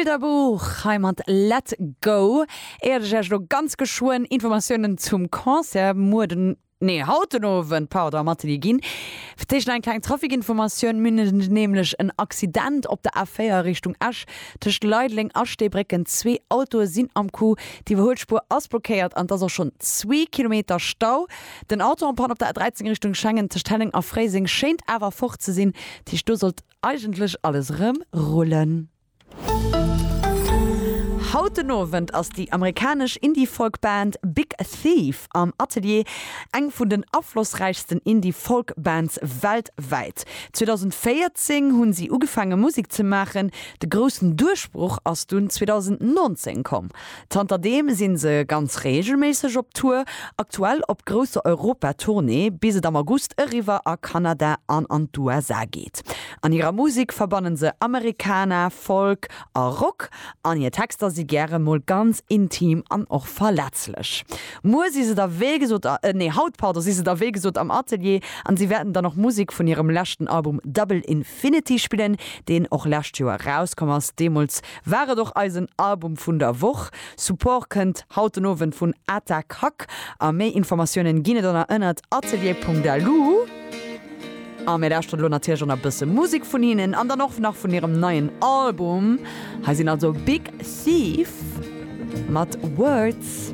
Bilderbuch hei mat Let Go. Éiert ech Iech elo ganz geschwënn Informatiounen zum Concert muer den, nee haut den Owend, pardon, am Atelier ginn, fir d'éischt nach eng kleng Trafikinformatioun. Mir hunn nämlech en Accident op der A4 Richtung Esch tëscht Leideleng a Steebrécken. Zwee Autoe sinn am Coup, d'Iwwerhuelspuer ass blockéiert an et ass och schonn zwee Kilometer Stau. Den Auto en panne op der A13 Richtung Schengen tëscht Helleng a Fréiseng schéint awer fort ze sinn, dat heescht do sollt eigentlech alles erëm rullen. Haut den Owend ass déi amerikanesch Indie-Folk-Band Big Thief am Atelier, eng vun den aflossräichsten Indie-Folk-Bands weltwäit. 2014 hunn si ugefaange Musek ze maachen, de groussen Duerchbroch ass dunn 2019 komm. Zanter deem sinn se ganz reegelméisseg op Tour, aktuell op grousser Europa-Tournée, bis et am August eriwwer a Kanada an an d'USA geet. An hirer Musek verbannen se Americana, Folk a Rock an hir Texter si gäre mol ganz intim an och verletzlech. Muer si se da wéi gesot, nee haut, pardon, si se da wéi gesot am Atelier an si wäerten dann och Musek vun hirem leschten Album Double Infinity spillen, deen och lescht Joer erauskomm ass. Deemools War et och eisen Album vun der Woch. Support kënnt haut den Owend vun Atakak a méi Informatiounen ginn et ënner ënnert atelier.lu. A mir lauschteren elo natierlech och nach e bësse Musek vun hinnen an dann och nach vun hirem neien Album. Hei sinn also Big Thief mat Words.